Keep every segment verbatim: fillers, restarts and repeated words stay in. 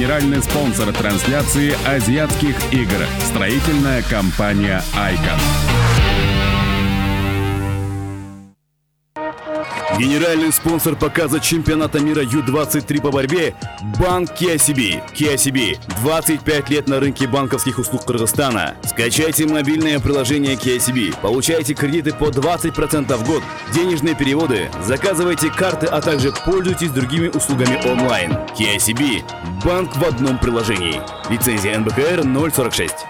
Генеральный спонсор трансляции азиатских игр. Строительная компания «Айкон». Генеральный спонсор показа чемпионата мира ю двадцать три по борьбе – банк кей эс би. кей эс би – двадцать пять лет на рынке банковских услуг Кыргызстана. Скачайте мобильное приложение кей эс би, получайте кредиты по двадцать процентов в год, денежные переводы, заказывайте карты, а также пользуйтесь другими услугами онлайн. кей эс би – банк в одном приложении. Лицензия эн бэ ка эр ноль сорок шесть.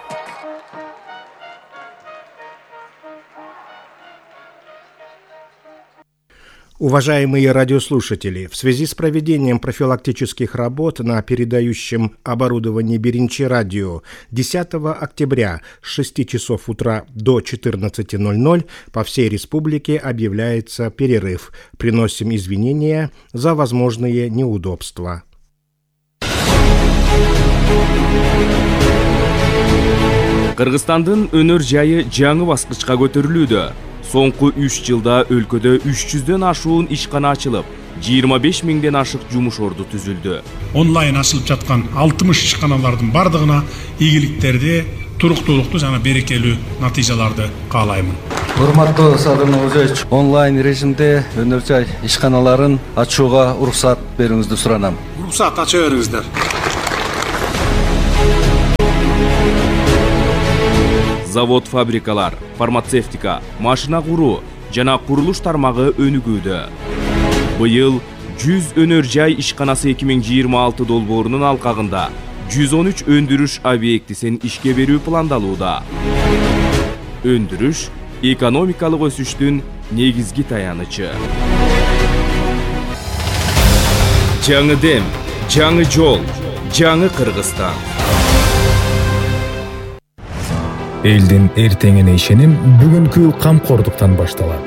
Уважаемые радиослушатели, в связи с проведением профилактических работ на передающем оборудовании Биринчи радио десятого октября с шести часов утра до четырнадцати ноль-ноль по всей республике объявляется перерыв. Приносим извинения за возможные неудобства. Кыргызстандын өнөр жайы жаңы баскычка көтөрүлүүдө. Соңку үч жылда өлкөдө үч жүздөн ашуун ишкана ачылып, жыйырма беш миңден ашык жумуш орду түзүлдү. Онлайн ачылып жаткан алтымыш ишканалардын бардыгына ийгиликтерди, туруктуулукту жана берекелүү натыйжаларды каалаймын. Урматтуу Садыр Нуржаевич, онлайн режимде өнөр жай ишканаларын ачууга уруксат берүүңүздү суранам. Уруксат ача бериңиздер. Завод, фабрикалар, фармацевтика, машина куруу жана курулуш тармагы өнүгүүдө. Быйыл жүз өнөр жай ишканасы эки миң жыйырма алты долбоорунун алкагында жүз он үч өндүрүш объектисин ишке берүү пландалууда. Өндүрүш экономикалык өсүштүн негизги таянычы. Жаңы дем, жаңы жол, жаңы Кыргызстан. Элдин эртеңине ишеним бүгүнкү камкордуктан башталат.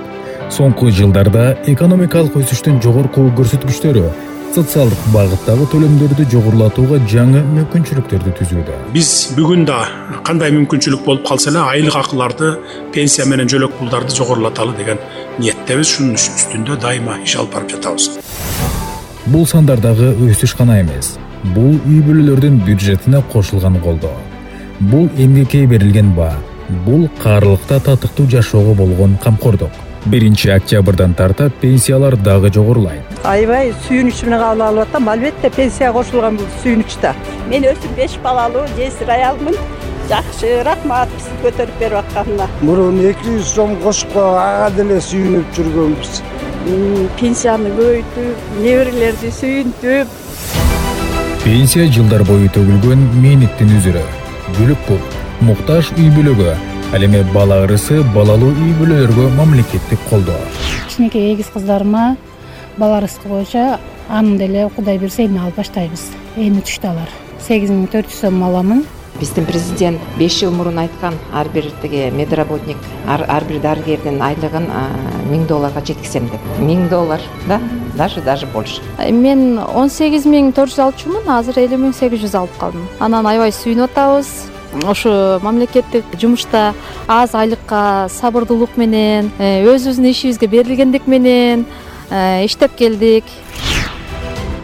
Соңку жылдарда экономикалык өсүштүн жогорку көрсөткүчтөрү социалдык багыттагы төлөмдөрдү жогорулатууга жаңы мүмкүнчүлүктөрдү түзүүдө. Биз бүгүн да кандай мүмкүнчүлүк болуп калса эле айлык акыларды, пенсия менен жөлөк пулдарды жогорулаталы деген ниеттебиз. Шунун үстүндө дайыма иш алып барып жатабыз. Бул сандардагы өсүш гана эмес, бул үй бүлөлөрдүн бюджетине кошулган колдоо. Бул эмгекке берилген баа, бул каарылыкта татыктуу жашоого болгон камкордук. биринчи октябрдан тарта пенсиялар дагы жогорулайт. Аябай сүйүнүч менен кабыл алып атам. Албетте пенсия кошулган бул сүйүнүчтө. Мен өзүм беш балалуу, жесир аялмын. Жакшы, рахмат бизди көтөрүп берип атканына. Мурун эки жүз сом кошупко ага деле сүйүнүп жүргөнбүз. Пенсияны көбөйтүп, неберелерди сүйүнтүп. Пенсия жылдар бою төгүлгөн мээнеттин үзүрү. Бүлүк бул, муктаж үй бүлөгө, ал эми бала ырысы балалуу үй бүлөлөргө мамлекеттик колдоо. Кичинекей эгиз кыздарыма бала ырыскы боюнча анын деле Кудай берсе эми алып баштайбыз. Эми түштү алар. сегиз миң төрт жүз сом аламын. Биздин президент беш жыл мурун айткан, ар бир тиги медработник, ар, ар бир дарыгердин айлыгын миң долларга жеткизем деп. миң доллар, да? Даже даже больше. Мен он сегиз миң төрт жүз алчумун, азыр элүү миң сегиз жүз алып калдым. Анан аябай сүйүнүп атабыз. Ошо мамлекеттик жумушта аз айлыкка сабырдуулук менен, өзүбүздүн ишибизге берилгендик менен иштеп келдик.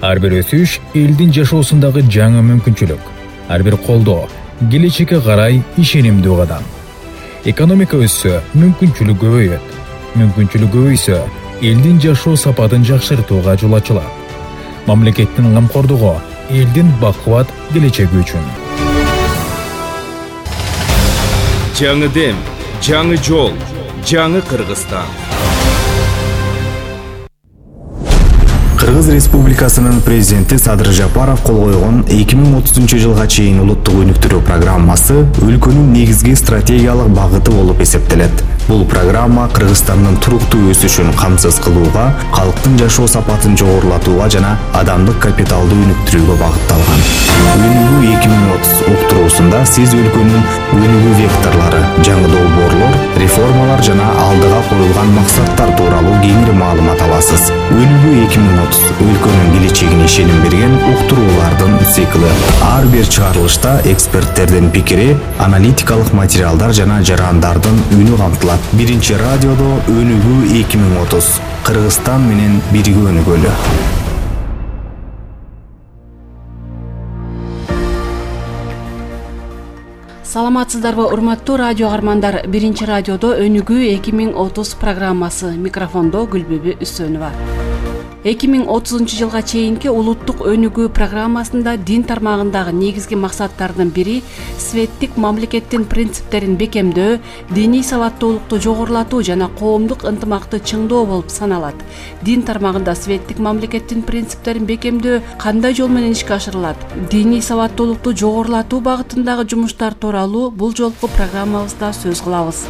Ар бир өсүш элдин жашоосундагы жаңы мүмкүнчүлүк. Ар бир колдоо келечекке карай ишенимдүү кадам. Экономика өссө, мүмкүнчүлүк көбөйөт. Мүмкүнчүлүк көбөйсө, элдин жашоо сапатын жакшыртууга жол ачылат. Мамлекеттин камкордугу элдин бакубат келечеги үчүн. Жаңы дем, жаңы жол, жаңы Кыргызстан. Кыргыз Республикасынын президенти Садыр Жапаров кол койгон эки миң отузунчу жылга чейин улуттук өнүктүрүү программасы өлкөнүн негизги стратегиялык багыты болуп эсептелет. Бул программа Кыргызстандын туруктуу өсүшүн камсыз кылууга, калктын жашоо сапатын жогорулатууга жана адамдык капиталды өнүктүрүүгө багытталган. Өнүгүү эки миң отуз уктуруусунда сиз өлкөнүн өнүгүү векторлору, жаңы долбоорлор, реформалар жана алдыга коюлган максаттар тууралуу кеңири маалымат аласыз. Өнүгүү эки миң отуз өлкөнүн келечегине ишеним берген уктуруулардын циклы. Ар бир чыгарылышта эксперттердин пикири, аналитикалык материалдар жана жарандардын үнү камтылат. Биринчи радиодо өнүгүү эки миң отуз. Кыргызстан менен бирге өнүгөлү. Саламатсыздарбы, урматтуу радио каармандар. Биринчи радиодо өнүгүү эки миң отуз программасы. Микрофондо Гүлбүбү Үсөнова. эки миң отузунчу жылга чейинки улуттук өнүгүү программасында дин тармагындагы негизги максаттардын бири светтик мамлекеттин принциптерин бекемдөө, диний сабаттуулукту жогорулатуу жана коомдук ынтымакты чыңдоо болуп саналат. Дин тармагында светтик мамлекеттин принциптерин бекемдөө кандай жол менен ишке ашырылат? Диний сабаттуулукту жогорулатуу багытындагы жумуштар тууралуу бул жолку программабызда сөз кылабыз.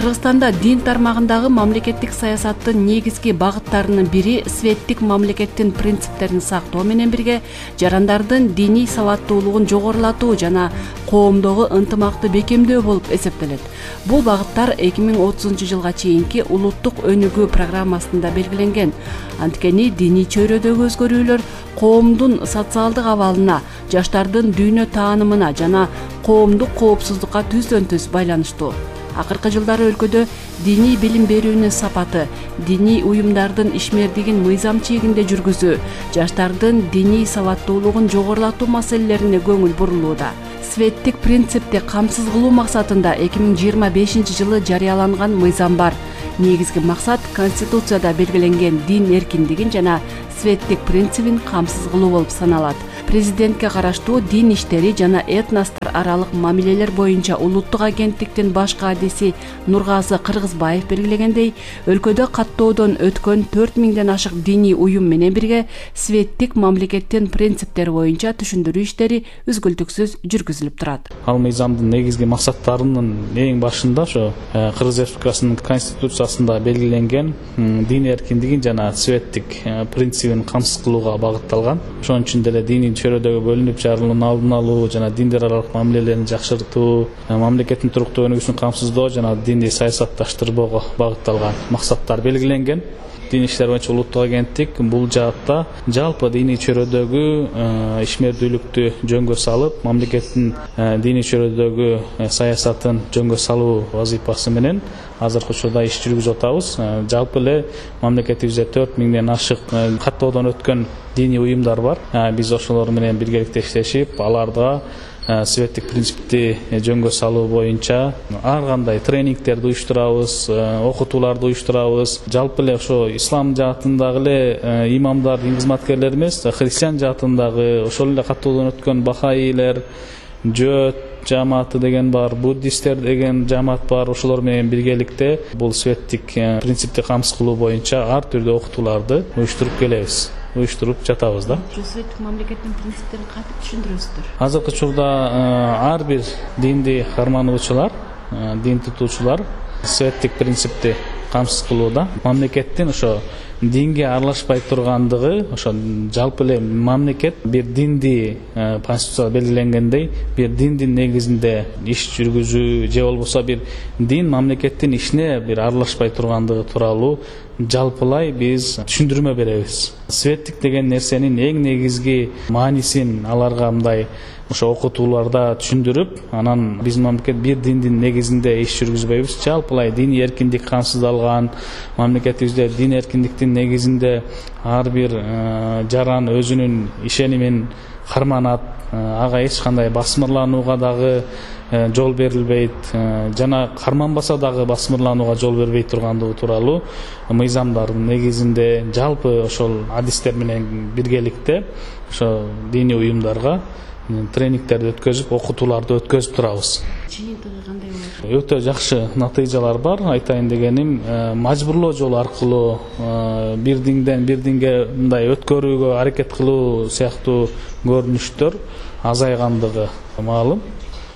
Кыргызстанда дин тармагындагы мамлекеттик саясаттын негизги багыттарынын бири светтик мамлекеттин принциптерин сактоо менен бирге жарандардын диний сабаттуулугун жогорулатуу жана коомдогу ынтымакты бекемдөө болуп эсептелет. Бул багыттар эки миң отузунчу жылга чейинки улуттук өнүгүү программасында белгиленген. Анткени диний чөйрөдөгү өзгөрүүлөр коомдун социалдык абалына, жаштардын дүйнө таанымына жана коомдук коопсуздукка түздөн түз байланыштуу. Акыркы жылдары өлкөдө диний билим берүүнүн сапаты, диний уюмдардын ишмердигин мыйзам чегинде жүргүзүү, жаштардын диний сабаттуулугун жогорулатуу маселелерине көңүл бурулууда. Светтик принципти камсыз кылуу максатында эки миң жыйырма бешинчи жылы жарыяланган мыйзам бар. Негизги максат Конституцияда белгиленген дин эркиндигин жана светтик принцибин камсыз кылуу болуп саналат. Президентке караштуу дин иштери жана этностор аралык мамилелер боюнча улуттук агенттиктин баш кадиси Нургазы Кыргызбаев белгилегендей, өлкөдө каттоодон өткөн төрт миңден ашык диний уюм менен бирге светтик мамлекеттин принциптери боюнча түшүндүрүү иштери үзгүлтүксүз жүргүзүлүп турат. Ал мыйзамдын негизги максаттарынын эң башында ошо Кыргыз Республикасынын Конституциясында белгиленген дин эркиндигин жана светтик принцибин камсыз кылууга багытталган. Ошон үчүн деле дини чөйрөдөгү бөлүнүп жарылуунун алдын алуу жана диндер аралык мамилелерин жакшыртуу, мамлекеттин туруктуу өнүгүүсүн камсыздоо жана динди саясатташтырбоого багытталган максаттар белгиленген. Дин иштери боюнча улуттук агенттик бул жаатта жалпы диний чөйрөдөгү ишмердүүлүктү жөнгө салып, мамлекеттин диний чөйрөдөгү саясатын жөнгө салуу вазыйфасы менен азыркы учурда иш жүргүзүп атабыз. Жалпы эле мамлекетибизде төрт миңден ашык каттоодон өткөн диний уюмдар бар. Биз ошолор менен биргеликте иштешип, аларга светтик принципти жөнгө салуу боюнча ар кандай тренингтерди уюштурабыз, окутууларды уюштурабыз. Жалпы эле ошо ислам жаатындагы эле имамдар, дин кызматкерлери эмес, христиан жаатындагы ошол эле каттоодон өткөн бахаилер, жөөт жамааты деген бар, буддисттер деген жамаат бар. Ошолор менен биргеликте бул светтик принципти камсыз кылуу боюнча ар түрдүү окутууларды уюштуруп келебиз. уюштуруп жатабыз да. Светтик мамлекеттин принциптерин кантип түшүндүрөсүздөр? Азыркы учурда ар бир динди кармануучулар, дин тутуучулар светтик принципти камсыз кылууда. Мамлекеттин ошо динге аралашпай тургандыгы, ошо жалпы эле мамлекет бир динди Конституцияда белгиленгендей, бир диндин негизинде иш жүргүзүү же болбосо бир дин мамлекеттин ишине бир аралашпай тургандыгы тууралуу жалпылай биз түшүндүрмө беребиз. Светтик деген нерсенин эң негизги маанисин аларга мындай ошо окутууларда түшүндүрүп, анан биздин мамлекет бир диндин негизинде иш жүргүзбөйбүз. Жалпылай диний эркиндик камсыздалган, мамлекетибизде дин эркиндиктин негизинде ар бир жаран өзүнүн ишенимин карманат, ага эч кандай басмырланууга дагы жол берилбейт, жана карманбаса дагы басмырланууга жол бербей тургандыгы тууралуу мыйзамдардын негизинде жалпы ошол адистер менен биргеликте ошо диний уюмдарга тренингтерди өткөзүп, окутууларды өткөзүп турабыз. Жыйынтыгы кандай болот? Өтө жакшы натыйжалар бар. Айтайын дегеним, мажбурлоо жолу аркылуу бир динден бир динге мындай өткөрүүгө аракет кылуу сыяктуу көрүнүштөр азайгандыгы маалым.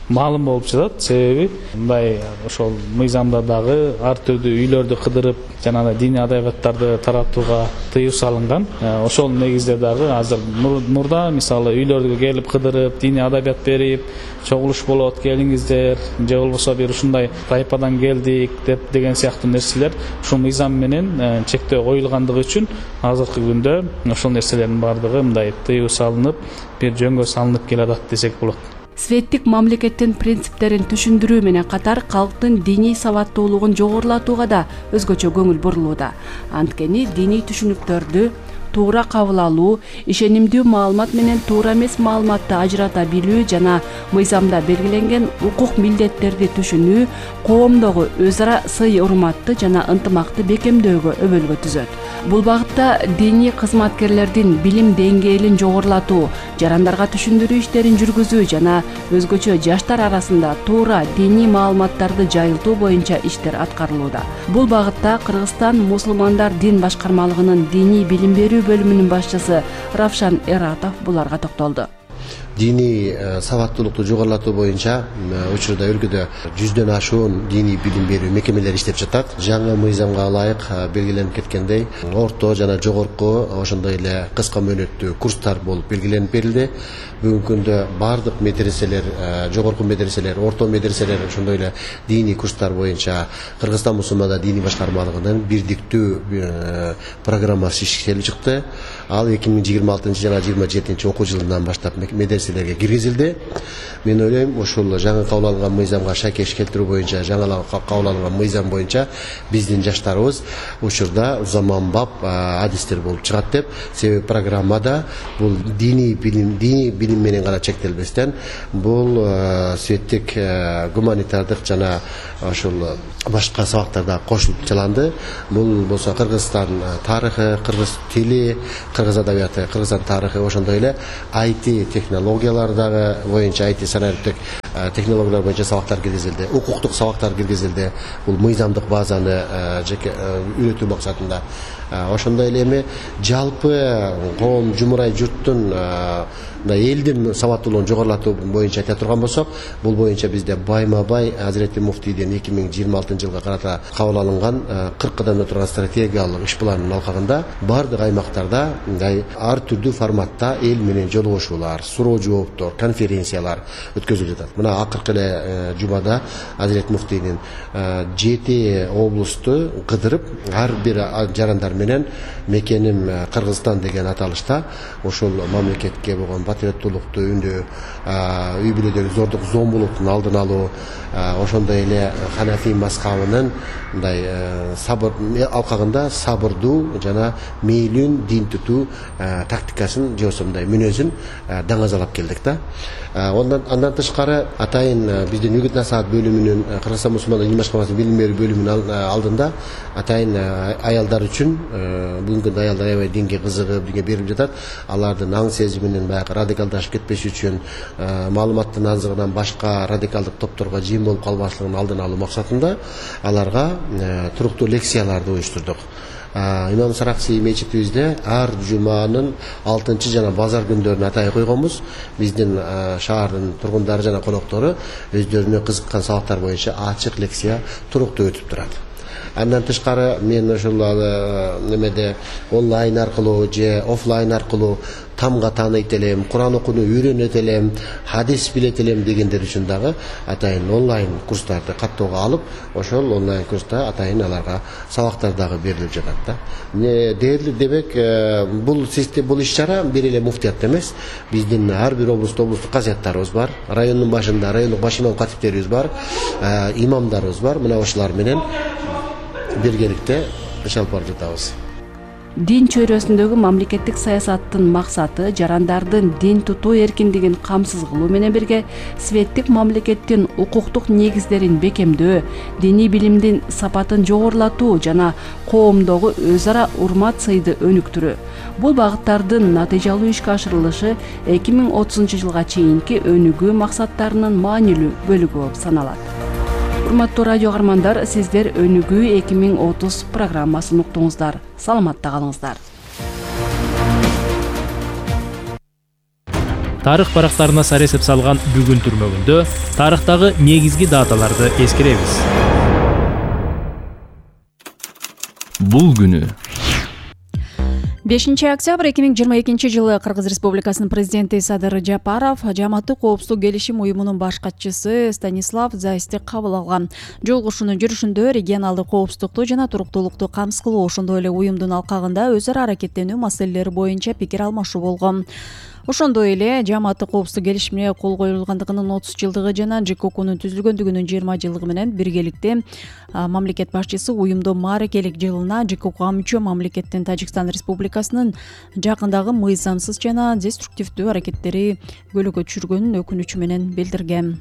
Маалым болуп жатат. Себеби мындай ошол мыйзамда дагы ар түрдүү үйлөрдү кыдырып жана диний адабияттарды таратууга тыюу салынган. Ошол негизде дагы азыр мурда мисалы үйлөргө келип кыдырып, диний адабият берип, чогулуш болот, келиңиздер, же болбосо бир ушундай тайпадан келдик деп деген сыяктуу нерселер ушул мыйзам менен чектөө коюлгандыгы үчүн азыркы күндө ошол нерселердин баардыгы мындай тыюу салынып, бир жөнгө салынып келатат десек болот. Светтик мамлекеттин принциптерин түшүндүрүү менен катар калктын диний сабаттуулугун жогорулатууга да өзгөчө көңүл бурулууда. Анткени диний түшүнүктөрдү туура кабыл алуу, ишенимдүү маалымат менен туура эмес маалыматты ажырата билүү жана мыйзамда белгиленген укук милдеттерди түшүнүү коомдогу өз ара сый урматты жана ынтымакты бекемдөөгө өбөлгө түзөт. Бул багытта диний кызматкерлердин билим деңгээлин жогорулатуу, жарандарга түшүндүрүү иштерин жүргүзүү жана өзгөчө жаштар арасында туура диний маалыматтарды жайылтуу боюнча иштер аткарылууда. Бул багытта Кыргызстан мусулмандар дин башкармалыгынын диний билим берүү бөлүмүнүн башчысы Равшан Эратов буларга токтолду. Диний сабаттуулукту жогорулатуу боюнча учурда өлкөдө жүздөн ашуун диний билим берүү мекемелери иштеп жатат. Жаңы мыйзамга ылайык белгиленип кеткендей, орто жана жогорку ошондой эле кыска мөөнөттүү курстар болуп белгиленип берилди. Бүгүнкү күндө бардык медреселер, жогорку медреселер, орто медреселер ошондой эле диний курстар боюнча Кыргызстан мусулмандар диний башкармалыгынын бирдиктүү программасы иштелип чыкты. Ал эки миң жыйырма алтынчы жана жыйырма жетинчи окуу жылынан баштап медреселерге киргизилди. Мен ойлойм, ушул жаңы кабыл алынган мыйзамга шайкеш келтирүү боюнча, жаңы кабыл алынган мыйзам боюнча биздин жаштарыбыз учурда заманбап адистер болуп чыгат деп. Себеби программада бул диний билим, диний билим менен гана чектелбестен, бул светтик, гуманитардык жана ошол башка сабактарда кошулуп жаланды. Бул болсо Кыргызстан тарыхы, кыргыз тили, кыргыз адабияты, кыргызстан тарыхы, ошондой эле ай ти технологиялар дагы боюнча, ай ти санариптик технологиялар боюнча сабактар киргизилди, укуктук сабактар киргизилди. Бул мыйзамдык базаны жеке үйрөтүү максатында. Ошондой эле эми жалпы коом, жумурай журттун элдин сабаттуулугун жогорулатуу боюнча айта турган болсок, бул боюнча бизде байма-бай Азирети муфтийдин эки миң жыйырма алтынчы жылга карата кабыл алынган кырк кадамда турган стратегиялык иш планынын алкагында бардык аймактарда мындай ар түрдүү форматта эл менен жолугушуулар, суроо жооптор, конференциялар өткөзүлүп жатат. Мына акыркы эле жумада Азирет муфтийдин жети облусту кыдырып, ар бир жарандар менен мекеним Кыргызстан деген аталышта ошол мамлекетке болгон патриоттуулукту үндөө, үй бүлөдөгү зордук зомбулуктун алдын алуу, ошондой эле Ханафи мазхабынын мындай сабыр алкагында сабырдуу жана мейлүүн дин тутуу тактикасын же болбосо мындай мүнөзүн даңазалап келдик да. Ондан андан тышкары атайын биздин үгүт насаат бөлүмүнүн, Кыргызстан мусулмандар дин башкармасынын билим берүү бөлүмүнүн алдында атайын аялдар үчүн, бүгүнкү күндө аялдар аябай динге кызыгып, динге берилип жатат. Алардын аң сезиминин баягы радикалдашып кетпеш үчүн, маалыматтын азыгынан башка радикалдык топторго жем болуп калбаслыгын алдын алуу максатында аларга туруктуу лекцияларды уюштурдук. Имам Саракси мечитибизде ар жуманын алтынчы жана базар күндөрүнө атай койгонбуз. Биздин шаардын тургундары жана коноктору өздөрүнө кызыккан сабактар боюнча ачык лекция туруктуу өтүп турат. Андан тышкары мен ошол немеде онлайн аркылуу же офлайн аркылуу тамга тааныйт элем, Куран окууну үйрөнөт элем, хадис билет элем дегендер үчүн дагы атайын онлайн курстарды каттоого алып, ошол онлайн курста атайын аларга сабактар дагы берилип жатат да. Дээрлик демек, бул система, бул иш-чара бир эле муфтият эмес. Биздин ар бир облусту облустук казыяттарыбыз бар, райондун башында райондук баш имам катиптерибиз бар, имамдарыбыз бар. Мына ошолар менен биргеликте иш алып барып жатабыз. Дин чөйрөсүндөгү мамлекеттик саясаттын максаты жарандардын дин тутуу эркиндигин камсыз кылуу менен бирге светтик мамлекеттин укуктук негиздерин бекемдөө, диний билимдин сапатын жогорулатуу жана коомдогу өз ара урмат сыйды өнүктүрүү. Бул багыттардын натыйжалуу ишке ашырылышы эки миң отузунчу жылга чейинки өнүгүү максаттарынын маанилүү бөлүгү болуп саналат. Урматтуу радио каармандар, сиздер өнүгүү эки миң отуз программасын уктуңуздар. Саламатта калыңыздар. Тарых барактарына саресеп салган бүгүн түрмөгүндө тарыхтагы негизги даталарды эскеребиз. Бул күнү бешинчи октябрь эки миң жыйырма экинчи жылы Кыргыз Республикасынын президенти Садыр Жапаров Жааматтык коопсуздук келишим уюмунун баш катчысы Станислав Зайсти кабыл алган. Жолугушуунун жүрүшүндө регионалдык коопсуздукту жана туруктуулукту камсыз кылуу, ошондой эле уюмдун алкагында өз ара аракеттенүү маселелери боюнча пикир алмашуу болгон. Ошондой эле Жааматтык коопсуздук келишимине кол коюлгандыгынын отуз жылдыгы жана ЖКОКунун түзүлгөндүгүнүн жыйырма жылдыгы менен биргеликте мамлекет башчысы уюмду мааракелик жылына ЖКОКго мүчө мамлекеттин Тажикстан Республикасынын жакындагы мыйзамсыз жана деструктивдүү аракеттери көйгөйгө түшүргөнүн өкүнүчү менен билдирген.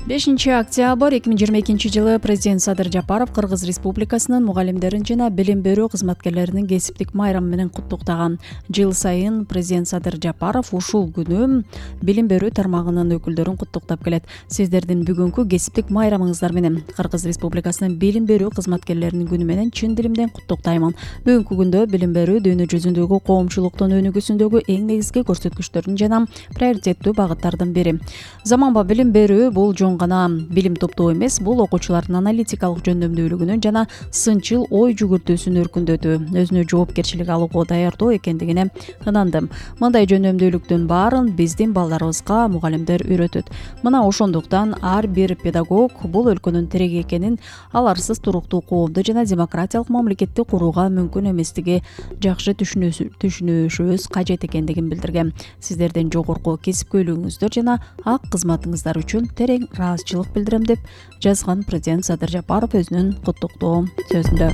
бешинчи октябрь эки миң жыйырма экинчи жылы президент Садыр Жапаров Кыргыз Республикасынын мугалимдерин жана билим берүү кызматкерлеринин кесиптик майрамы менен куттуктаган. Жыл сайын президент Садыр Жапаров ушул күнү билим берүү тармагынын өкүлдөрүн куттуктап келет. Сиздердин бүгүнкү кесиптик майрамыңыздар менен Кыргыз Республикасынын билим берүү кызматкерлеринин күнү менен чын дилимден куттуктаймын. Бүгүнкү күндө билим берүү дүйнө жүзүндөгү коомчулуктун өнүгүүсүндөгү эң негизги көрсөткүчтөрдүн жана приоритеттүү багыттардын бири. Заманба билим берүү бул жон гана билим топтоо эмес, бул окуучулардын аналитикалык жөндөмдүүлүгүнүн жана сынчыл ой жүгүртүүсүн өркүндөтүү, өзүнө жоопкерчилик алууга даярдоо экендигине ынандым. Мындай жөндөмдүүлүктүн баарын биздин балдарыбызга мугалимдер үйрөтөт. Мына ошондуктан ар бир педагог бул өлкөнүн тиреги экенин, аларсыз туруктуу коомду жана демократиялык мамлекетти курууга мүмкүн эместиги жакшы түшүнүшүбүз кажет экендигин билдирген. Сиздердин жогорку кесипкөйлүгүңүздөр жана ак кызматыңыздар үчүн терең ыраазычылык билдирем деп жазган президент Садыр Жапаров өзүнүн куттуктоо сөзүндө.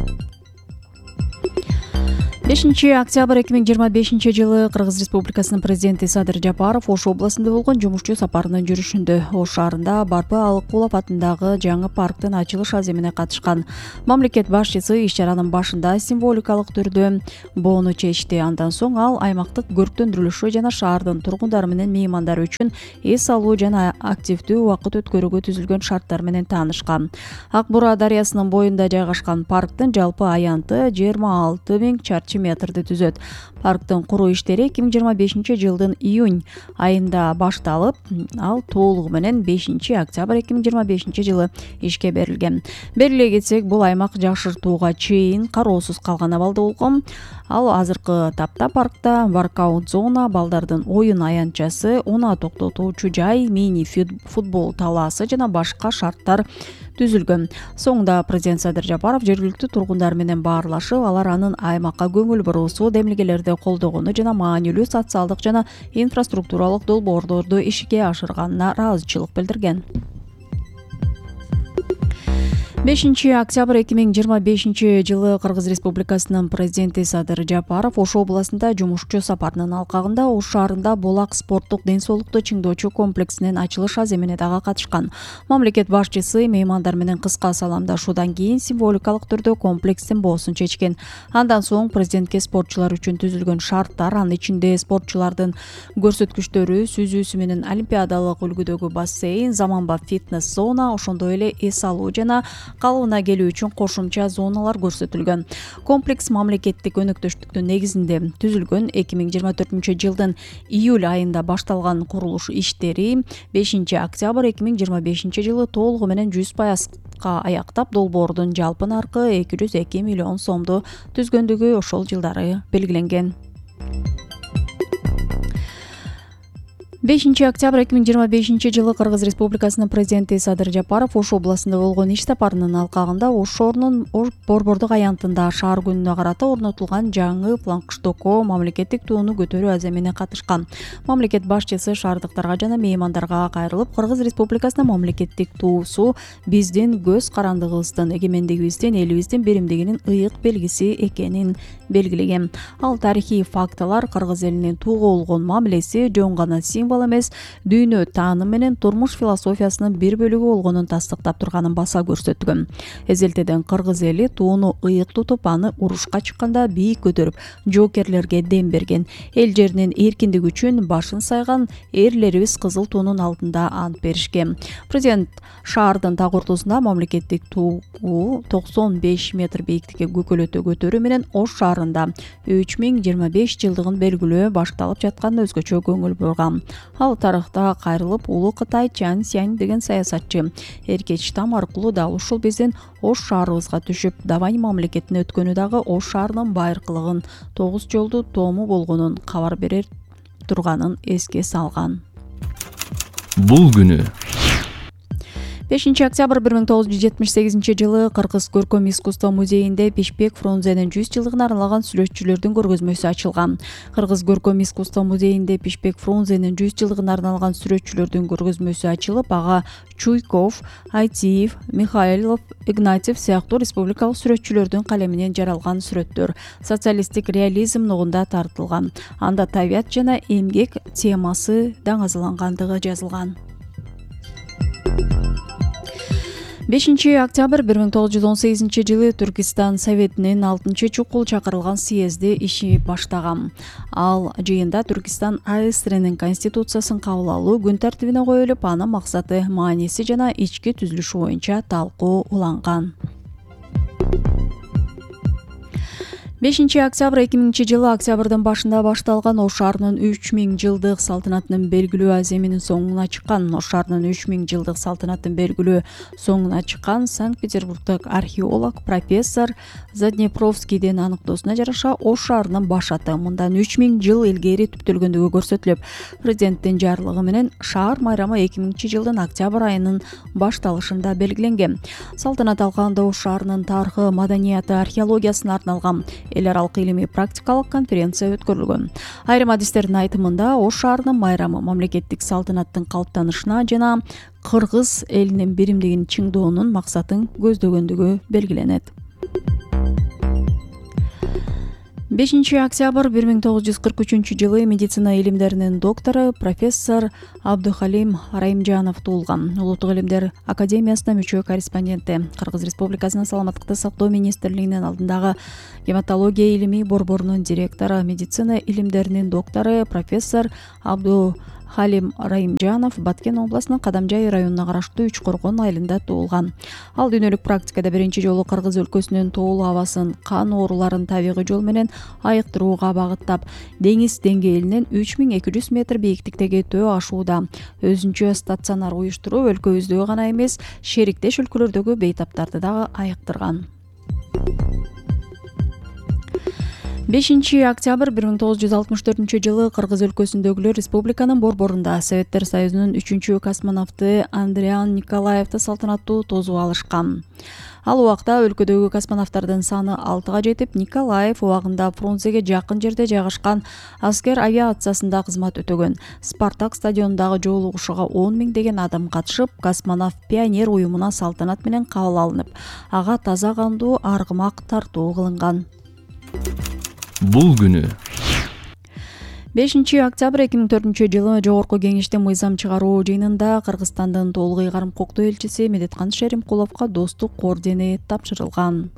бешинчи октябрь эки миң жыйырма бешинчи жылы Кыргыз Республикасынын президенти Садыр Жапаров Ош областында болгон жумушчу сапарынын жүрүшүндө Ош шаарында Барпы Алыкулов атындагы жаңы парктын ачылыш аземине катышкан. Мамлекет башчысы иш чаранын башында символикалык түрдө боону чечти. Андан соң ал аймактык көрктөндүрүлүшү жана шаардын тургундары менен меймандары үчүн эс алуу жана активдүү убакыт өткөрүүгө түзүлгөн шарттар менен таанышкан. Ак Бура дарыясынын боюнда жайгашкан парктын жалпы аянты жыйырма алты миң чарчы метрди түзөт. Парктын куруу иштери эки миң жыйырма бешинчи жылдын июнь айында башталып, ал толугу менен бешинчи октябрь эки миң жыйырма бешинчи жылы ишке берилген. Бериле кетсек, бул аймак жакшыртууга чейин кароосуз калган абалда болгон. Ал азыркы тапта паркта воркаут зона, балдардын оюн аянтчасы, унаа токтотуучу жай, мини футбол талаасы жана башка шарттар түзүлгөн. Соңунда президент Садыр Жапаров жергиликтүү тургундар менен баарлашып, алар анын аймакка көңүл буруусу, демилгелерди колдогону жана маанилүү социалдык жана инфраструктуралык долбоорлорду ишке ашырганына ыраазычылык билдирген. бешинчи октябрь эки миң жыйырма бешинчи жылы Кыргыз Республикасынын президенти Садыр Жапаров Ош областында жумушчу сапарынын алкагында Ош шаарында Булак спорттук ден соолукту чыңдоочу комплексинин ачылыш аземине дагы катышкан. Мамлекет башчысы меймандар менен кыска саламдашуудан кийин символикалык түрдө комплекстин боосун чечкен. Андан соң президентке спортчулар үчүн түзүлгөн шарттар, анын ичинде спортчулардын көрсөткүчтөрү, сүзүүсү менен олимпиадалык үлгүдөгү бассейн, заманба фитнес зона, ошондой эле эс алуу жана калыбына келүү үчүн кошумча зоналар көрсөтүлгөн. Комплекс мамлекеттик өнөктөштүктүн негизинде түзүлгөн. эки миң жыйырма төртүнчү жылдын июль айында башталган курулуш иштери бешинчи октябрь эки миң жыйырма бешинчи жылы толугу менен жүз пайызга аяктап, долбоордун жалпы наркы эки жүз эки миллион сомду түзгөндүгү ошол жылдары белгиленген. бешинчи октябрь эки миң жыйырма бешинчи жылы Кыргыз Республикасынын президенти Садыр Жапаров Ош областында болгон иш сапарынын алкагында Ош шаарынын Борбордук аянтында шаар күнүнө карата орнотулган жаңы флагштокко мамлекеттик тууну көтөрүү аземине катышкан. Мамлекет башчысы шаардыктарга жана меймандарга кайрылып, Кыргыз Республикасынын мамлекеттик туусу биздин көз карандыгыбыздын, эгемендигибиздин, элибиздин биримдигинин ыйык белгиси экенин белгилеген. Ал тарыхый фактылар, Кыргыз элинин туга болгон мамилеси жөн гана символ эмес, дүйнө тааным менен турмуш философиясынын бир бөлүгү болгонун тастыктап турганын баса көрсөткөн. Эзелтеден кыргыз эли тууну ыйык тутуп, аны урушка чыкканда бийик көтөрүп, жоокерлерге дем берген. Эл жеринин эркиндиги үчүн башын сайган эрлерибиз кызыл туунун алдында ант беришкен. Президент шаардын так ортосунда мамлекеттик тугу токсон беш метр бийиктикке көкөлөтө көтөрүү менен Ош шаарында үч миң жыйырма беш жылдыгын белгилөө башталып жаткан өзгөчө көңүл бурган. Ал тарыхта кайрылып, улуу Кытай Чан Сянь деген саясатчы эркеч там аркылуу да ушул биздин Ош шаарыбызга түшүп, Давань мамлекетине өткөнү дагы Ош шаарынын байыркылыгын, тогуз жолду тому болгонун кабар берер турганын эске салган. Бул күнү бешинчи октябрь бир миң тогуз жүз жетимиш сегизинчи жылы Кыргыз көркөм искусство музейинде Бишбек Фрунзенин жүз жылдыгына арналган сүрөтчүлөрдүн көргөзмөсү ачылган. Кыргыз көркөм искусство музейинде Бишбек Фрунзенин жүз жылдыгына арналган сүрөтчүлөрдүн көргөзмөсү ачылып, ага Чуйков, Айтиев, Михайлов, Игнатьев сыяктуу республикалык сүрөтчүлөрдүн калеминен жаралган сүрөттөр социалисттик реализм нугунда тартылган. Анда табият жана эмгек темасы даңазалангандыгы жазылган. бешинчи октябрь бир миң тогуз жүз он сегизинчи жылы Түркистан Советинин алтынчы чукул чакырылган съезди иши баштаган. Ал жыйында Түркистан АСРнин конституциясын кабыл алуу күн тартибине коюлуп, анын максаты, мааниси жана ички түзүлүшү боюнча талкуу уланган. бешинчи октябрь эки миңинчи жылы октябрдын башында башталган Ош шаарынын үч миң жылдык салтанатынын белгилүү аземинин соңуна чыккан. Ош шаарынын үч миң жылдык салтанатын белгилүү соңуна чыккан Санкт-Петербургдук археолог профессор Заднепровскийдин аныктоосуна жараша Ош шаарынын башаты мындан үч миң жыл илгери түптөлгөндүгү көрсөтүлүп, президенттин жарлыгы менен шаар майрамы эки миңинчи жылдын октябрь айынын башталышында белгиленген. Салтанат алкагында Ош шаарынын тарыхы, маданияты, археологиясына арналган эл аралык илимий практикалык конференция өткөрүлгөн. Айрым адистердин айтымында Ош шаарынын майрамы мамлекеттик салтанаттын калыптанышына жана кыргыз элинин биримдигин чыңдоонун максатын көздөгөндүгү белгиленет. бешинчи октябрь бир миң тогуз жүз кырк үчүнчү жылы медицина илимдеринин доктору профессор Абдухалим Райымжанов туулган. Улуттук илимдер академиясына мүчө корреспонденти, Кыргыз Республикасынын саламаттыкты сактоо министрлигинин алдындагы гематология илимий борборунун директору, медицина илимдеринин доктору профессор Абду Халим Райымжанов Баткен областынын Кадамжай районуна караштуу Үч Коргон айылында туулган. Ал дүйнөлүк практикада биринчи жолу Кыргыз өлкөсүнүн тоолуу абасын, кан ооруларын табигый жол менен айыктырууга багыттап, деңиз деңгээлинен үч миң эки жүз метр бийиктиктеги төө ашууда өзүнчө стационар уюштуруп, өлкөбүздөгү гана эмес, шериктеш өлкөлөрдөгү бейтаптарды дагы айыктырган. бешинчи октябрь бир миң тогуз жүз алтымыш төртүнчү жылы Кыргыз өлкөсүндөгүлөр республиканын борборунда Советтер Союзунун үчүнчү космонавты Андриан Николаевди салтанаттуу тосуп алышкан. Ал убакта өлкөдөгү космонавттардын саны алтыга жетип, Николаев убагында Фрунзеге жакын жерде жайгашкан аскер авиациясында кызмат өтөгөн. Спартак стадионундагы жоолугушууга он миңдеген адам катышып, космонавт пионер уюмуна салтанат менен кабыл алынып, ага таза кандуу аргымак тартуу кылынган. Бул күнү бешинчи октябрь эки миң төртүнчү жылы Жогорку Кеңештин мыйзам чыгаруу жыйынында Кыргызстандын толук ыйгарым укуктуу элчиси Медеткан Шеримкуловго достук ордени тапшырылган.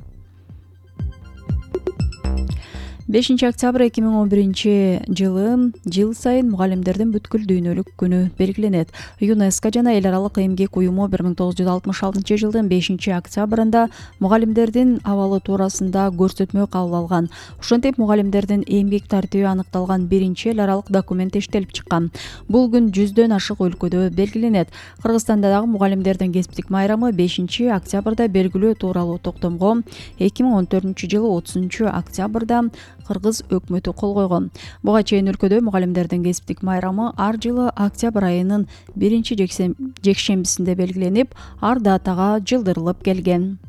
бешинчи октябрь эки миң он биринчи жылы жыл сайын мугалимдердин бүткүл дүйнөлүк күнү белгиленет. ЮНЕСКО жана эл аралык эмгек уюму бир миң тогуз жүз алтымыш алтынчы жылдын бешинчи октябрында мугалимдердин абалы туурасында көрсөтмө кабыл алган. Ошентип мугалимдердин эмгек тартиби аныкталган биринчи эл аралык документ иштелип чыккан. Бул күн жүздөн ашык өлкөдө белгиленет. Кыргызстанда дагы мугалимдердин кесиптик майрамы бешинчи октябрда белгилөө тууралуу токтомго эки миң он төртүнчү жылы отузунчу октябрда Кыргыз өкмөтү кол койгон. Буга чейин өлкөдө мугалимдердин кесиптик майрамы ар жылы октябрь айынын биринчи жекшембисинде белгиленип, ар датага жылдырылып келген.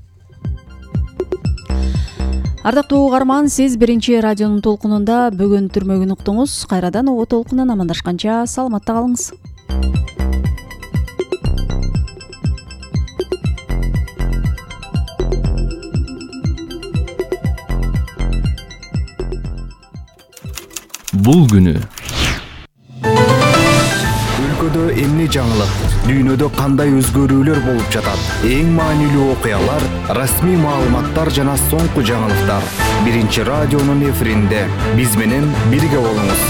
Ардактуу угарман, сиз биринчи радионун толкунунда бүгүн түрмөгүн уктуңуз. Кайрадан оо толкунан амандашканча саламатта калыңыз. Бул күнү өлкөдө эмне жаңылык, дүйнөдө кандай өзгөрүүлөр болуп жатат, эң маанилүү окуялар, расмий маалыматтар жана соңку жаңылыктар биринчи радионун эфиринде. Биз менен бирге болуңуз.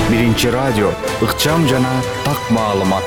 Биринчи радио, ыкчам жана так маалымат.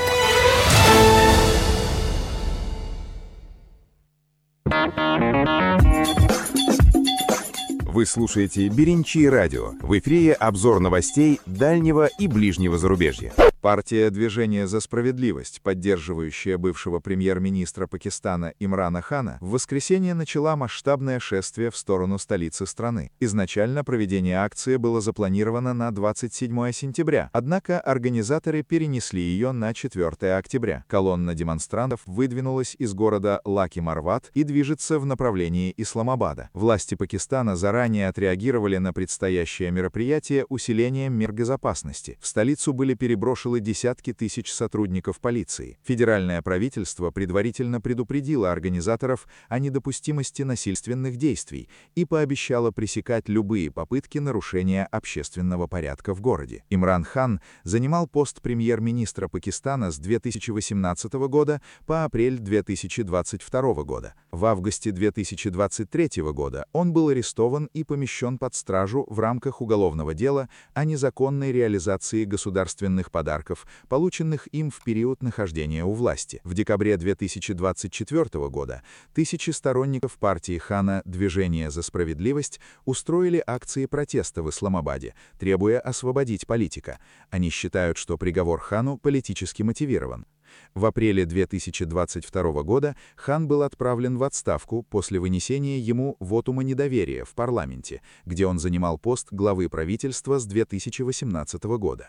Вы слушаете «Беринчи радио». В эфире обзор новостей дальнего и ближнего зарубежья. Партия «Движение за справедливость», поддерживающая бывшего премьер-министра Пакистана Имрана Хана, в воскресенье начала масштабное шествие в сторону столицы страны. Изначально проведение акции было запланировано на двадцать седьмое сентября, однако организаторы перенесли ее на четвёртое октября. Колонна демонстрантов выдвинулась из города Лаки-Марват и движется в направлении Исламабада. Власти Пакистана заранее отреагировали на предстоящее мероприятие усилением мер безопасности. В столицу были переброшены десятки тысяч сотрудников полиции. Федеральное правительство предварительно предупредило организаторов о недопустимости насильственных действий и пообещало пресекать любые попытки нарушения общественного порядка в городе. Имран Хан занимал пост премьер-министра Пакистана с две тысячи восемнадцатого года по апрель две тысячи двадцать второго года. В августе две тысячи двадцать третьего года он был арестован и помещен под стражу в рамках уголовного дела о незаконной реализации государственных подарков, полученных им в период нахождения у власти. В декабре две тысячи двадцать четвёртого года тысячи сторонников партии Хана «Движение за справедливость» устроили акции протеста в Исламабаде, требуя освободить политика. Они считают, что приговор Хану политически мотивирован. В апреле две тысячи двадцать второго года Хан был отправлен в отставку после вынесения ему вотума недоверия в парламенте, где он занимал пост главы правительства с две тысячи восемнадцатого года.